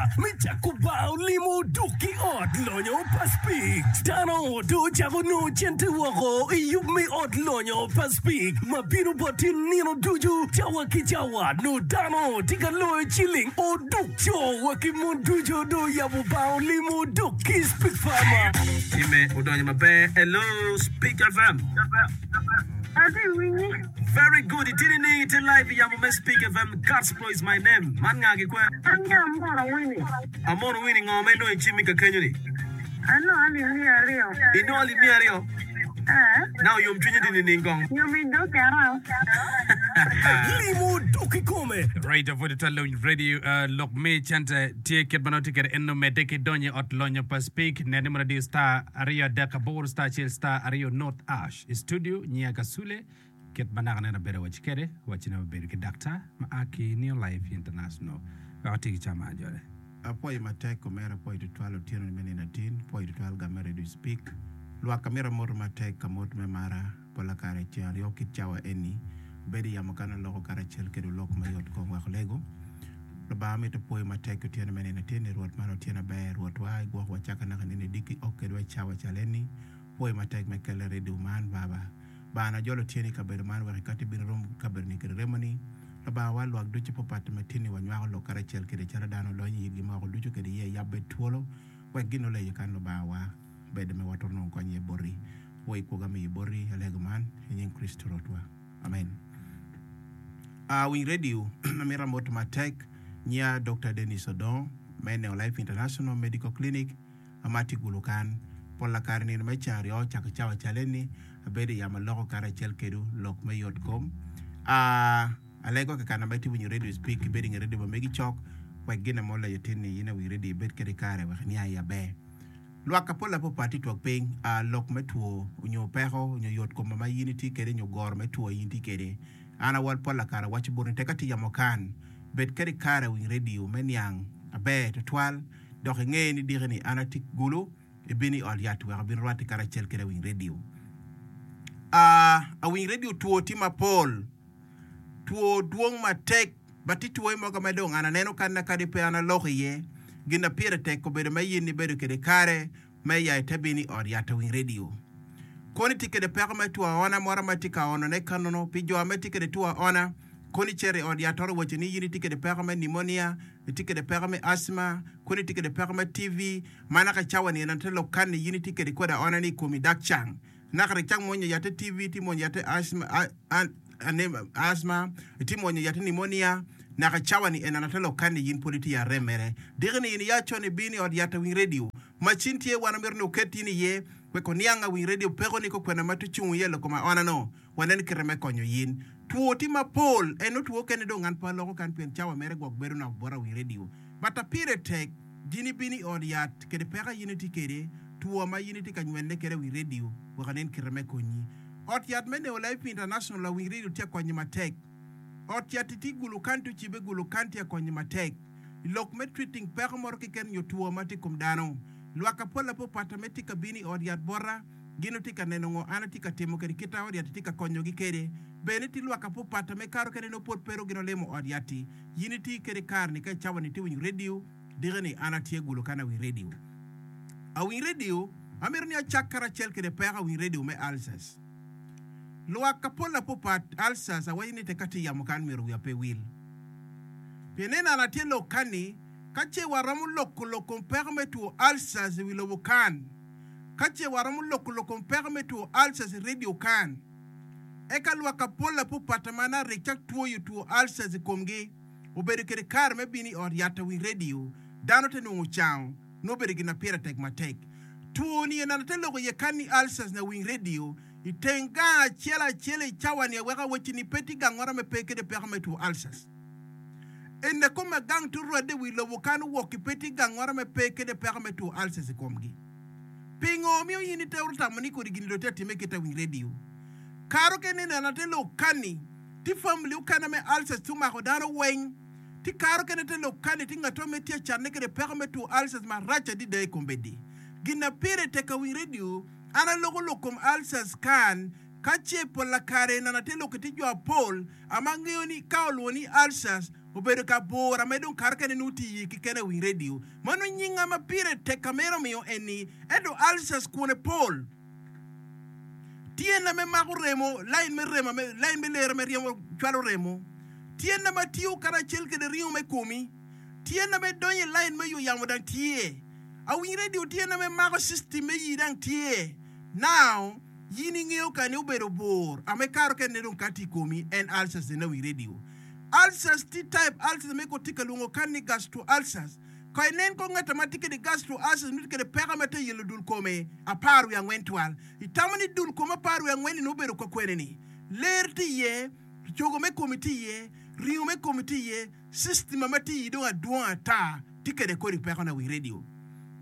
ata me cako bar olimo duk ki ot lonyo pa Speke. Dano dong ocako nongo cente woko i yub me ot lonyo pa Speke ma bino boti nino ducu cawa ki cawa. Nongo dano tye ka loyo ciling oduk co wa ki mon ducu dong oyabo bar olimo duk ki Speke Farmer. Time odonyo maber. Hello Speke FM. Atye winyi. Very good itye nining itye live i yamo me Speak FM Gospel is my name man nga gi kwe? An ki Amono Winnie. Amono Winnie ngo ma inongo i cimmi ka kenyo ni? Anongo alip 200. Inongo alip 200? Ee. Now yom cwinyi tye nining kong? Yom i dog kera. Limo dok kikome. Right pwod itwal lawiny radio lok me cente tye kit ma nongo tye kwede eno medde ki donyo i ot lonyo pa Speak nen ni mono adiyo star aryo adek aboro star acel star aryo not ash. I studio, nyiya Kasule, kit ma naka nene abedo awaci kede, wacci ni wabedo ki daktar ma a ki New Life International wek oti ki cam ajole. Apwoyo matek omera apwoyo tutwal otyeno ni me nino atin apwoyo tutwal game radio speak lwak amito amoto matek amot me mara pola kare ceng aryo kit cawa eni abedo iyamo kan aloko karacel kede olok mayot kom wek olego Lubanga amito pwoyo matek otyeno me nino atin ni Rwot man otyeno aber Rwotwa igwok wa caka naka nino idiki ok kedwa icawa cal eni Pwoyo matek me kelle redio man, Baba. Bana jolo tyeni i kabedo man wek ikati ibin irom kabedoni kede remoni. Lubanga wa lwak ducu papat ma tinni wanywako lok karacel kede calo dano olony i yitgi ma woko ducu kede iye yab bed twolo wek gin oleyo kan Lubanga wa bedo me watwero nongo kony iye boti. Pwoyo kwoga miyo boti alego man i nying Kricito Rwotwa. Amen. A winy redio amito amot matek nyiya Dokta Denis Odongo me Neo Life International Medical Clinic. Amati gulu kan. Polla kare nino me ceng aryo cako cawa cal eni, abedo i yamo aloko karacel kedu lok me yot kom. A Alego kekana ma itye winyo radio speak ibedo inge radio ma megi cok wek gine mo oleyo tin ni in awinyo radio ibed kede kare wek iniang iye aber. Lwak apol apopat tye twak piny a lok me two onyo peko onyo yot kom ma in itye kede onyo goro me two in itye kede. An awal polla kare awaco boti ni tek atye yamo kan bed kede kare winy radio me niang aber tutwal. Dok inge ni diki ni an atye gulu, ibino i ot yat wek abin rwatte karacel kede awiny redio. A Awiny redio two tye mapol. Two dwong matek, but tye two mogo ma dong an aneno kanna kadi pe an aloko iye. Gin na pire tek obedo me in ibedo kede kare me ya ite bino i ot yat awiny redio. Kono itye kede peko me two aona moro ma itye ka onone kanono pi jo ma tye kede two aona, kono icito i ot yat oro waco ni in itye kede peko me pneumonia, itye kede peko me asthma, kono itye kede peko me TB, ma naka cawa ni en te lok kan ni in itye kede kodi aona ni i komi dak cang. Naka rik cak mwonyo yatte TB, itye mwonyo yatte asthma, asthma, itye mwonyo yatte pneumonia, naka cawa ni en te lok kan ni in pwod itye i arem mere. Diki ni in iya con ibino i ot yat awiny radio, macin tye wan omito ni oket in iye wek oniang awiny radio peko ni kokwena ma tucung iye lok kom aona no. Wanen kite me konyo yin. Two tye mapol, eno two kene dong an pe aloko kan pien cawa mere gwok bedo nok bota wi radio. But a pire tek, jin ibino i ot yat kede peko a yin itye kede, two ma yin itye ka nywene kede wi radio wek anen kite me konyi. Ot yat me Neo Life International a wi radio tye akonyi matek. Ot yat tye Gulu County ocibe Gulu County akonyi matek. I lok me treating peko moro keken nyo two ma tye kom dano. Lwak apol apopata me tye ka bino i ot yat bota. Gin otye ka neno ngo an atye ka timo kede kit a ot yat-ti tye ka konyogi kede. Bene tye lwak apopata me kato kene nongo pwod pero gin olimo ot yat-ti. Yin iti kede kare-ni ka icawa-ni itye winyo redio, diki ni an atye gulo kan awiny redio. Awiny redio, amito ni acak karacel kede peko awiny redio me ulcers. Lwak apol apopat ulcers awaco ni tek atye yamo kan myero wiya pe wil. Pien neno an atye lok kan-ni, ka ce waromo loko lok kom peko me two ulcers i wi lobo kan, Ka ce waromo loko lok kom peko me two ulcers i radio kan, eka lwak apol apopata ma na rik cak twoyo two ulcers i komgi obedo kede kare me bino i ot yat awiny radio, dano te nongo cango, nongo obedo gin na pire tek matek. Two ni en ate loko iye kan ni ulcers na winy radio i teng gang acel acel i cawa ni aweko awacci ni pe tye gangoro me pe kede peko me two ulcers. Ene kome gang to rwade wi lobo kan owok ki pe tye gangoro me pe kede peko me two ulcers i komgi. Pingo omiyo in itero tamo ni kodi gin dong tye atime kit awiny radio? Karo kene neno ate lok kani tye family okene me ulcers tye omako dano weng. Tye karo kene te lok kani tye ngato me tye acanne kede peko me two ulcers marac adida i kombeddi. Gin na pire tek awiny radio an aloko lok kom ulcers kan ka ce pola kare neno ate lok ki tye jo apol ama angeyo ni ka olwongo ni ulcers. Obedo ka bur ame dong kare kene nongo tye iye keken awiny radio. Mano nyinga ma pire tek ka meno omiyo eni. Ento ulcers kwone pol. Tyena me mako remo, lain me remo ame, lain me lere me ryemo cwalo remo. Tyena ma tiyo karacel kede ringo me komi. Tyena me donyo i lain me ywe yamo dang tye. Awiny radio tyena me mako system me yii dang tye. Now, yin ingeyo kani obedo bur ame kare kene dong ka tye i komi en ulcers eni awiny radio. Ulcers tye type ulcers me ko tye ka lwongo kan ni gastro ulcers. Ka inen kong ngat ma tye kede gastro ulcers nongo tye kede peko me te yelo dul kome 14 twal. Itamo ni dul kom 14 ni obedo ka kwene ni? Ler tye iye, cogo me komi tye iye, ringo me komi tye iye, system ma tye iyi dong adwong ata tye kede kodi peko na wi radio.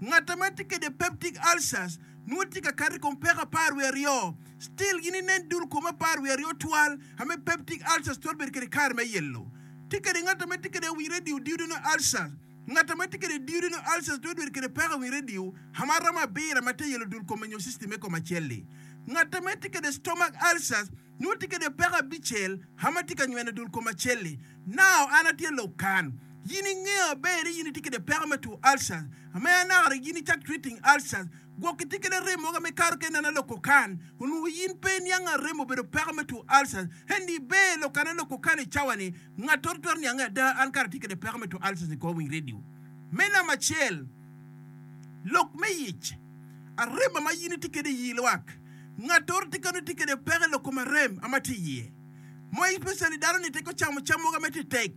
Ngat ma tye kede peptic ulcers nongo tye ka kato i kom peko 12. Still gin inen dul kom 12 twal ame peptic ulcers twero bedo kede kare me yelo. Tye kede ngat ame tye kede awiny radio duodenal ulcers. Ngat ame tye kede duodenal ulcers twero bedo kede peko awiny radio ame aromo abiro ame te yelo dul kome nyo system me kom acel-li. Ngat ame tye kede stomach ulcers nongo tye kede peko abicel ame tye ka nyweno dul kom acel-li. Now an atye lok kan. Yin ingeyo aber ni yin itye kede peko me two ulcers ame anaka yin icak treating ulcers. Gwok itye kede arem mogo ame kato kene nena loko kan. Onongo yin pe iniang arem obedo peko me two ulcers. Ento iber lok ane loko kan i cawa ni ngattoro twero niange ada an kara atye kede peko me two ulcers i kor winy radio. Me namba acel, lok me yic. Arem ama yin itye kede iyi lwak. Ngattoro tye kano tye kede peko i lok kom arem ama tye iye. Mo especially dano ni teko camo cam mogo ame tye tek.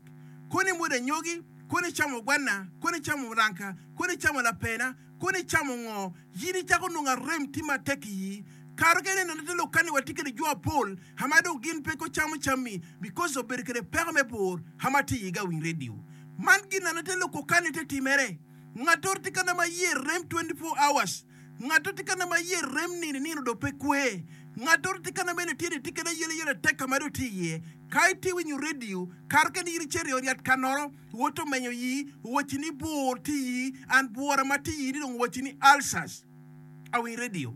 Kono imwodo anyogi, kono icamo gwana, kono icamo muranga, kono icamo lapena, Kono icamo ngo? Yin icako nongo arem tye matek i ii. Kare kene neno te lok kani watye kede jo apol ama dong gin pe ko camo cammi because obedo kede peko me bur ama tye i iga winy radio. Man gin neno te loko kani te timere. Ngatoro tye kana ma iye rem 24 hours. Ngatoro tye kana ma iye rem nino nino dong pe kwe. Ngatoro tye kana mene tye ni tye kede ayela yela tek kama dong tye iye. Ka itye winyo radio kare kene yin icito i ot yat kanoro. Wot omenyo yi, owacci ni bur tye iyi, and bwura ma tye iyi ni dong owacci ni ulcers. Awiny radio.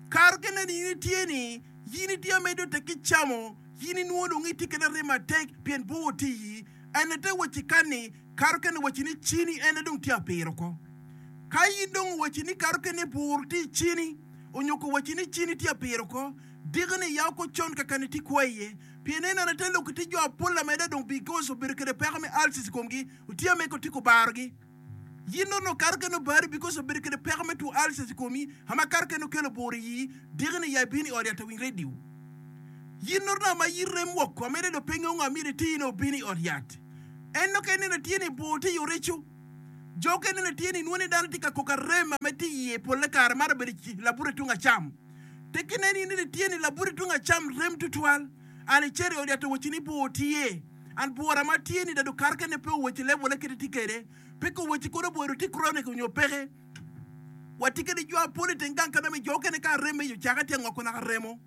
Kare kene ni in itye ni, yin itye amedo tek ki camo, yin inwongo dong itye kede arem matek pien bur tye iyi. En ate wacci kan ni, kare kene owacci ni cini en dong tye apiro oko. Ka in dong owacci ni kare kene bur tye i cini, onyo ko wacci ni cini tye apiro oko, diki ni ya oko con kakani tye kwo iye. Pien en ane te lok tye jo apol ameda dong because obedo kede peko me ulcers i komgi otye ame ko tye kubarogi. Yin onongo kato kene obari because obedo kede peko me two ulcers i komi ama kato kene okelo bur i yii diki ni ya ibino i ot yat awiny radio. Yin onongo ama yi rem woko ameda dong pe ngeyo ngo amyero iti ni obino i ot yat. En dok en neno tye ni bur tye i oreco. Jo okene neno tye ni nwo ni dano tye ka koko arem ame tye iye polle kare maro bedo labute tung acam. Tek inen in ni tye ni labute tung acam rem tutwal. An icito i ot yat owacci ni bur tye. An bura ma tye ni dado kare kene pe owacci level kite tye kede. Pe ka owacci kono bur tye chronic onyo peke. Watye kede jo apol i teng gang ka name jo okene ka arem me ocake tye ngoko naka remo.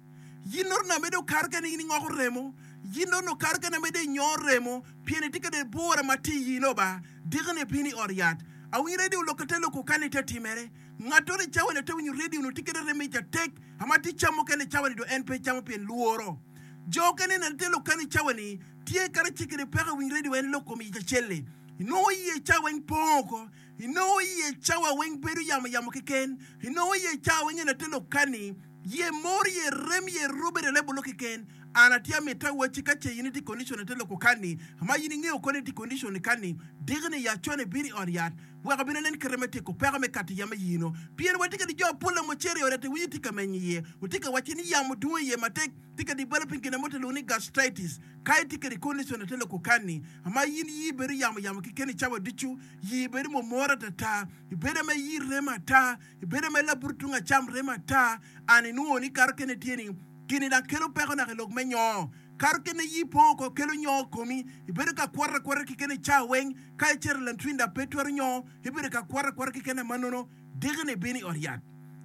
Yin nono name dong kare kene in ingoko remo. Yin nono kare kene name dong inyo remo pien itye kede bura ma tye iyi no ba. Diki ni ibino i ot yat. Awinyo radio lok te loko kani te timere. Ngatoro i cawa-ni ate winyo redio onongo tye kede rem ic atek ama tye cam mukene i cawa-ni dong en pe camo pien lworo. Jo okene nene tye lok kany i cawa-ni tye kadi ci kede peko i winy redio en lok kom ic acel-li. Inongo iye cawa weng pong oko. Inongo iye cawa weng bedo yamo yamo keken. Inongo iye cawa weng en ate lok kani ye mor ye rem ye rubere lebolo keken. An atye amito awacci ka ce in itye i condition ate loko kani ama in ingeyo kono itye i condition kani diki-ni ya con ibino i ot yat Wek obin onen kite me tyeko peko me kato yam i ino. Pien watye kede jo apol ma ocito i ot ento winyo tye ka menyo iye. Watye ka wacce ni yamo dung iye matek, tye ka developing gin mo tilwongo ni gastritis. Ka itye kede condition ate loko kanni, ama in yii bedo yamo yamo keken i cawa ducu, yii bedo momoro atata, ibedo ame yii remo ata, ibedo ame laburu tung acam remo ata, and inwongo ni kato kene tye ni gini dang kelo peko naka i lok me nyo. Kato kene yii pong oko kelo nyo i komi, ibedo ka kwoto akwota keken i cawa weng. Ka icito i lantrinda pe twero nyo ibedo ka kwoto akwota keken amanono diki ni ibino i ot yat.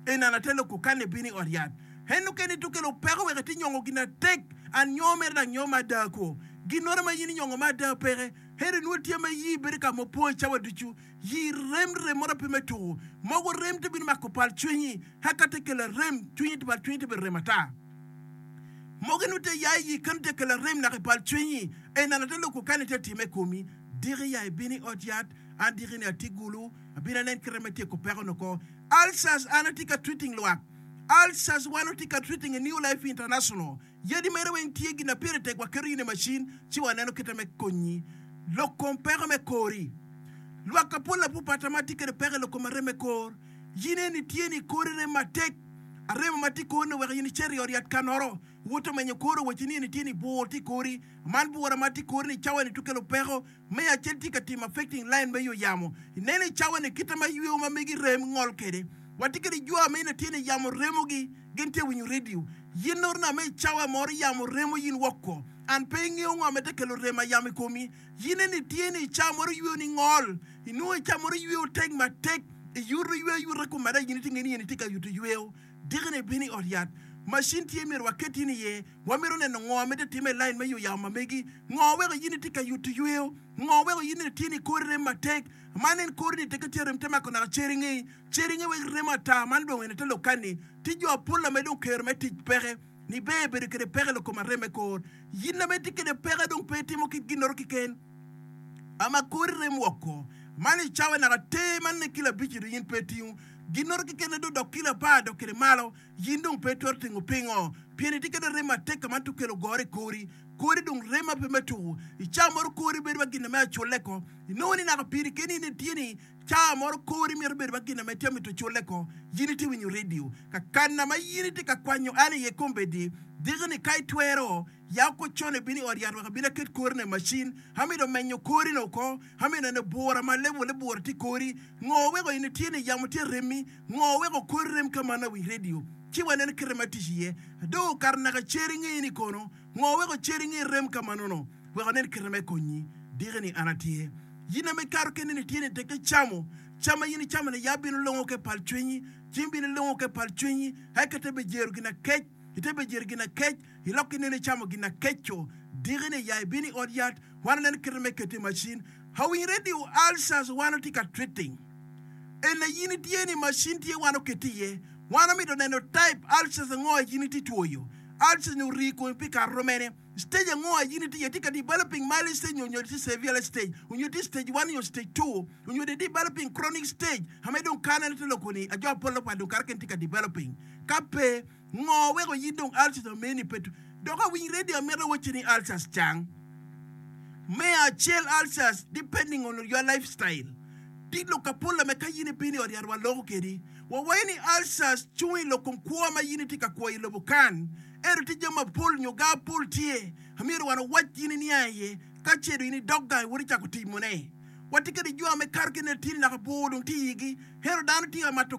Eni an ate loko kan ibino i ot yat. En okene to kelo peko wek iti nyongo gin atek an nyo mere dang nyo me ada kwo. Ginoro ma in inyongo me ada peke. Ento inwo tye ma iyi bedo ka ma opong i cawa ducu. Yi rem rem moro pe me tuku. Mogo rem te bino mako pal cwinyi. Haka te kelo arem cwinyi te pal cwinyi te bedo rem ata. Mogo inwo te ya iyi keno te kelo arem naka i pal cwinyi. Enana te loko kani te time i komi. Diki ya ibino i ot yat, an diki ni atye gulu, abino anen kite me tyeko peko ni oko. Ulcers an atye ka treating lwak. Ulcers wan watye ka treating i New Life International. Yadi mere weng tye gin na pire tek waketo in i macin ci waneno kite me konyi. Lok kom peko me kori. Lwak ka pol apupata ma tye kede peko i lok kom arem me kor. Yin eni tye ni kori rem matek. Aremo ma tye i kori ni weko in icito i ot yat kanoro. Wot omenyo kori owaci ni eni tye ni bur tye i kori. Man bura ma tye i kori ni cawa ni twero kelo peko. Me acel tye ka timo affecting line me yo yamo. Ineno i cawa ni kite ma yweo ma megi rem ngol kede. Watye kede jwa ma ina tye ni yamo remo gi gin tye winyo radio. Yin noro na me i cawa moro yamo remo yin woko. An pe ingeyo ngo ma te kelo rem ayamo i komi. Yin eni tye ni i cawa moro yweo ni ngol. Inongo i cawa moro yweo tek matek. Iyuto yweo ayuta kom mada yin itye nge ni eni tye ka yuto yweo. Diki ni ibino i ot yat. Macin tye myero waket in iye. Wamito neno ngo ma itye timo i lain me yuyamo ma megi. Ngo weko in itye ka yuto yweyo? Ngo weko in itye ni kori rem matek? Man en kori ni teke tye rem te mako naka cer ingeyi. Cer inge wek remo ata man dong ene te lok kani. Tye jo apol ame dong kero me tic peke. Ni ber bedo kede peke lok kom arem me kor. Yin ame itye kede peke dong pe itimo kit ginnoro kiken. Ama kori rem woko. Man i cawa naka ter man ne kilo abici dong yin pe itingo. Ginnoro keken dong dok kilo apar dok kede malo. Yin dong pe itwero tingo pingo? Pien itye kede rem matek ka man to kelo goro i kori. Kori dong rem ma pe me tuku. I cawa moro kori bedo wa gin me aculle ko. Inongo ni naka piri keni in itye ni cawa moro kori mito bedo wa gin me tye mito culle ko. Yin itye winyo radio. Ka kana ma yin itye ka kwanyo an iye kombeddi, diki ni ka itwero, ya oko con ibino i ot yat wek abin aket kori ni i macin. Amito menyo kori ni oko. Amito neno bura ma lebole bura tye i kori. Ngo weko in itye ni yamo tye remi? Ngo weko kori rem ka man awi radio ci waneno kite ma tic iye? Adong okato naka cer ingeyi ni kono ngo weko cer inge rem ka manono? Wek anen kite me konyi. Diki ni an atye. Yin ame ikato keni ni tye ni teke camo cam ma yin icamo ni ya bino longo ke pal cwinyi cing bino longo ke pal cwinyi eka te bejero gin akec ite bejero gin akec ilok ki neno icamo gin akeco diki ni ya ibino i ot yat wan aneno kite me keto i macin awiny radio ulcers wan otye ka treating Ena yin itye ni macin tye wan oket iye. Wan omito neno type ulcers ango a yin itye twoyo. Ulcers ni orii komi pi kare romene. Stage ango a yin itye iye? Tye ka developing mild stage nyo tye severe stage? Onyo tye stage one nyo stage two? Onyo de developing chronic stage? Ame dong kare ne tye loko ni ajo apol pa dong kare kene tye ka developing. Ka pe, ngo weko yin dong ulcers omeni pe Dok awiny radio amito awacci ni ulcers cang. Me acel ulcers depending on your lifestyle. Tye lok apol ame ka yin ibino i ot yat waloko kedi. Wawaco ni ulcers cung i lok kom kwo ma yin itye ka kwo i lobo kan. Ento tye jami mapol nyo ga apol tye amyero wan owac yin iniang iye ka ce dong in idok gang iwoto icako timone. Watye kede jo ame kato ki i net tye ni naka bor dong tye i igi ento dano tye ka mato.